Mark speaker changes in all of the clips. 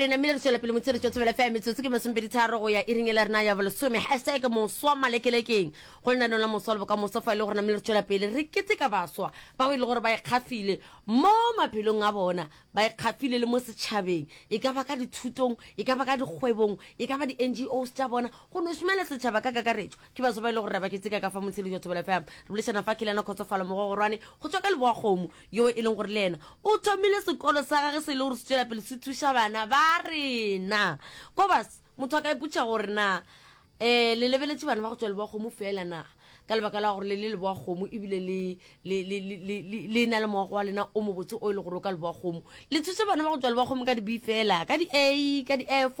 Speaker 1: Re namile re tšwela pele motshelo tšwa Thobela FM metsotso ke masomepeditharo go ya iring e la rena ya bolesome. Hashtag moswa malekelekeng go lenaneo la moswa le bokamoso fa e le gore namile re tšwela pele re keteka baswa bao e le gore ba ikgafile mo maphelong a bona, ba ikgafile le mo setšhabeng, e ka ba ka dithutong, e ka ba ka dikgwebong, e ka ba di-NGOs tša bona, go no šomela setšhaba ka kakaretšo. Ke baswa ba e le gore re ba keteka ka fa motshelo jwa Thobela FM. Re bolešana fa ke le yena Kgotsofalo Mogogorwane go tšwa ka Leboakgomo yo e leng gore le yena o thomile sekolo sa gage se e le gore se tšwela pele se thuša bana ba rena. Kobus, motho a ka ipotšiša gore na um le lebeletše bana ba go tšwa Leboakgomo feela na ka lebaka la gore le le Leboakgomo ebile le le, le, le, le, le, le na le moago wa lena o mobotse o e le gore o ka Leboakgomo. Le thuše bana ba go tšwa Leboakgomo ka di-B fela, ka di-A, ka di-F,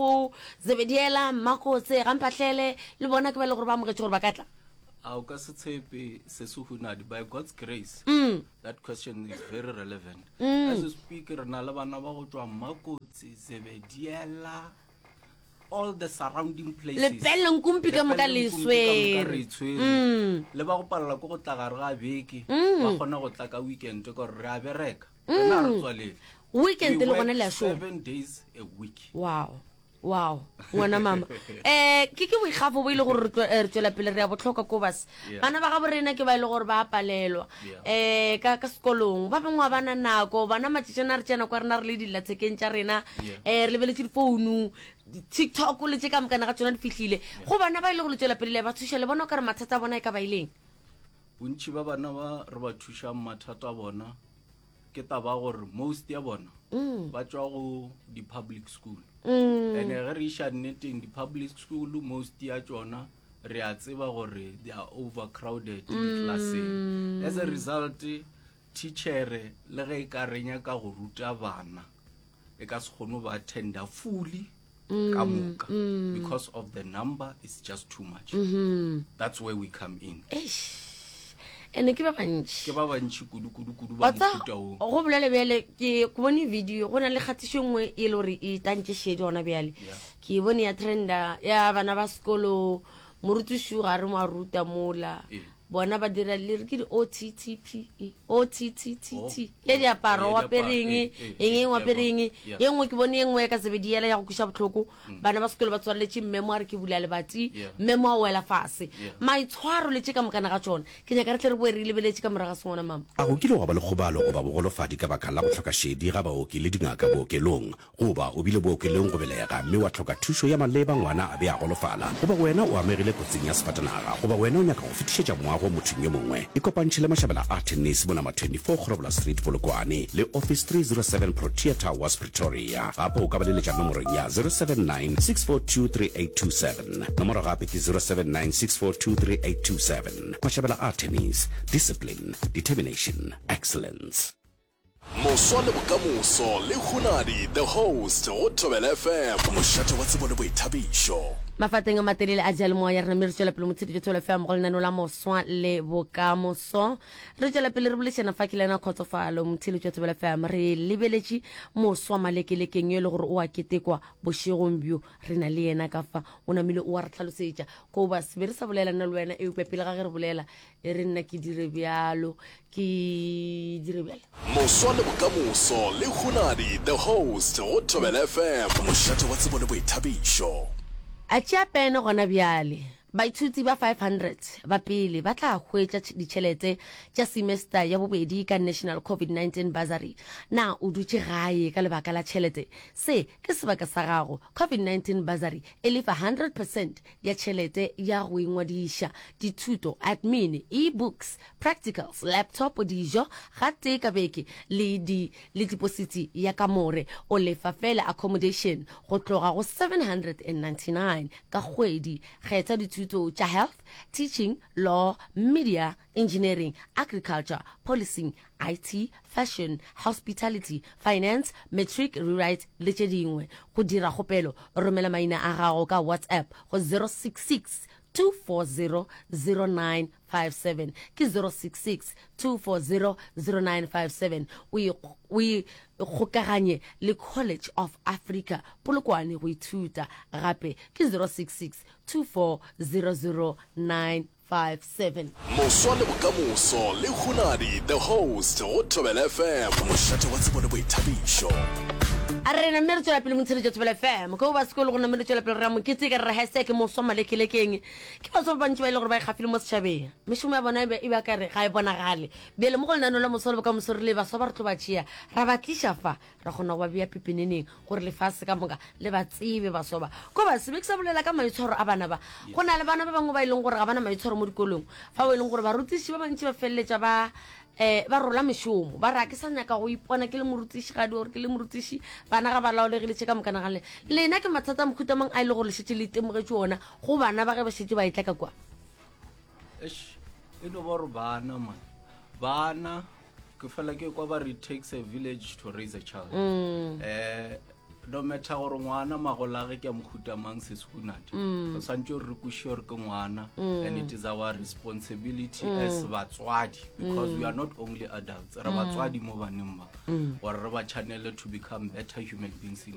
Speaker 1: Zebediela, Mmakotse, Gamphahlele, le bona ke ba e le gore ba amogetše gore ba ka tla.
Speaker 2: A o ka se tshepe se se hunadi by God's grace.
Speaker 1: Mm.
Speaker 2: That question is very relevant. Mm. As we speak, re na le bana ba go tšwa Mmakotse, Zebediela, all the surrounding places.
Speaker 1: Lepelle Nkumpi ka moka le
Speaker 2: Lepelle Nkumpi ka moka re
Speaker 1: swere.
Speaker 2: e tshwere.
Speaker 1: Mm.
Speaker 2: Le ba go palela ke go tla gare ga beke,
Speaker 1: Mm.
Speaker 2: ba kgona go tla ka weekend ka gore re a bereka. Rena ga re tswalele.
Speaker 1: Weekend
Speaker 2: We
Speaker 1: le gona
Speaker 2: work
Speaker 1: le a šoma.
Speaker 2: Seven days a week.
Speaker 1: Wow. Wow, ngwana mama. Eh, ke ke boikgafo bo ile gore re tlo- eh, re tšwela pele re ya botlhokwa ko bas.
Speaker 2: Yeah.
Speaker 1: Bana ba gabo rena ke ba ile gore ba palelwa.
Speaker 2: Yeah.
Speaker 1: Eh, ka ka sekolong ba bangwe ga ba na nako, bana matšatšana re tšea nako ya rena re le dillathekeng tša rena.
Speaker 2: Yeah.
Speaker 1: Eh, re lebeletše difounu, di-TikTok le tše ka mokana ga tšona di fihlile. Go bana ba ile go le tšwela pele le ba thuša le bona o ka re mathata a bona e ka ba ileng.
Speaker 2: Bontši ba bana ba re ba thušang mathata a bona ke taba ya gore most ya bona
Speaker 1: mm.
Speaker 2: ba tšwa go di-public school
Speaker 1: mm.
Speaker 2: and ge re iša nneteng di-public school most ya tšona re a tseba gore they are overcrowded mm. di-classeng as a result teachere le ge e ka re nyaka go ruta bana e ka se kgone go ba attenda fully mm, ka moka mm. because of the number is just too much
Speaker 1: mm -hmm.
Speaker 2: that's where we come in
Speaker 1: ene ke ba bantši
Speaker 2: ke ba bantši kudu kudu kudu ba mofuta
Speaker 1: o go bolele bjale ke ke bone video go na le kgatišo nngwe e le gore e tantše šedi gona bjale ke e bone ya trenda ya bana ba sekolo morutiši ga re mo a ruta mola
Speaker 2: ee.
Speaker 1: Bona ba dira le re ke di OTTP OTTTT
Speaker 2: Oh,
Speaker 1: ya diaparo
Speaker 2: ya
Speaker 1: wa pereng
Speaker 2: diaparo, eh, eh,
Speaker 1: eng eng wa
Speaker 2: eh,
Speaker 1: pereng
Speaker 2: yeah.
Speaker 1: ye nngwe ke bone ye nngwe ya ka sebediela ya go kweša bohloko bana ba sekolo ba tswaleletše mmemo a re ke bula lebati
Speaker 2: Yeah.
Speaker 1: mmemo a wela fase
Speaker 2: Yeah.
Speaker 1: maitshwaro le tše ka mokana ga tšona ke nyaka re tle re boe re lebeletše ka morago ga sengwana mama
Speaker 3: A go kile gwa ba le kgobalo goba bogolofadi ka baka la go hloka šedi ga baoki le dingaka bookelong? Goba o bile bookelong go belega mme wa hloka thušo ya maleba ngwana a be a golofala? Goba wena o amegile kotsing ya sefatanaga? Goba wena o nyaka go fetišetša moago mothong yo mongwe? Ikopantšhe le Mashabela a Tennis mo nama 24 Grobbelaar Street, Polokwane, le Office 307 Protea Towers, Pretoria. Gape o ka ba leletša nomorong ya 079 642 3827. Nomoro gape ke 079 642 3827. Mashabela a Tennis, Discipline, Determination, Excellence.
Speaker 4: Moswa le bokamoso le Hunadi the host go Thobela FM, mošate wa tsebo le boithabišo.
Speaker 1: Mafateng a matelele a diyalemoya re namile re tšwela pele motsheditšo Thobela FM go lenaneo la Moswa le Bokamoso. Re tšwela pele re bolešana fa ke lena Kgotsofalo motheletši wa Thobela FM. Re lebeletše moswa malekelekeng yo e le gore o a ketekwa bošegong bjo re na le yena ka fa o namile o a re tlhalosetša koba se be re sa bolela nna le wena eupša pele ga ge re bolela E re nna ke dire bjalo, ke dire bjalo.
Speaker 4: Moswa le bokamoso le Hunadi the host go Thobela FM, mošate wa tsebo le boithabišo.
Speaker 1: A tšea pene gona bjale. Baithuti ba 500 ba pele ba tla hwetša ditšhelete tša semester ya bobedi ka National COVID-19 Bursary. Na o dutše gae ka lebaka la tšhelete? Se ke sebaka sa gago. COVID-19 Bursary e lefa 100 percent ya tšhelete ya go ingwadiša, dithuto, admin, e-books, practicals, laptop, dijo gatee ka beke le di le depositi ya kamore. O lefa fela accommodation go tloga go 799 ka kgwedi. Kgetha dithuto tša health, teaching, law, media, engineering, agriculture, policing, IT, fashion, hospitality, finance, matric rewrite le tše dingwe. Go dira kgopelo, romela maina a gago ka WhatsApp go 066 240 0957. Ke 066 240 0957. O ikgokaganye le College of Africa Polokwane go ithuta. Gape ke 066 240 0957. 57.
Speaker 4: Moswa le bokamoso le Hunadi the host go Thobela FM, mošate wa tsebo le boithabišo.
Speaker 1: A re namme re tšwela pele motsheletšo Thobela FM. Ko ba sekolo go namme re tšwela pele re ya mokete ka re re hashtag moswa malekelekeng. Ke baswa ba bantši ba e le gore ba ikgafile mo setšhabeng. Mešomo ya bona e be e ba ka re ga e bonagale. Bjale mo go lenaneo la moswa le bokamoso re le baswa ba re tlo ba tšea ra ba tliša fa ra kgona go ba bea pepeneneng gore lefase ka moka le ba tsebe baswa ba. Ko ba se be ke sa bolela ka maitshwaro a bana ba. Go na le bana ba bangwe ba e leng gore ga ba na maitshwaro mo dikolong. Fa o e leng gore barutiši ba bantši ba feleletša ba um ba rola mešomo ba re a ke sa nyaka go ipona ke le morutišigadi or ke le morutiši bana ga ba laolegile tše ka moka naganle lena ke mathata a mohuta mang a e le gore le šetše le itemogetše ona go bana ba ge ba šetše ba etla ka kwa
Speaker 2: Eish, e no ba gore bana man bana ke fela ke kwa ba re it takes a village to raise a child um no matter gore ngwana magolage ke a mohuta mang sesehunadi mm. re swantse gore re kwešiše gore ke ngwana mm. and it is our responsibility mm. as batswadi because mm. we are not only adults re mm. batswadi mo baneng ba mm. gore re ba channele to become better human beings in mm.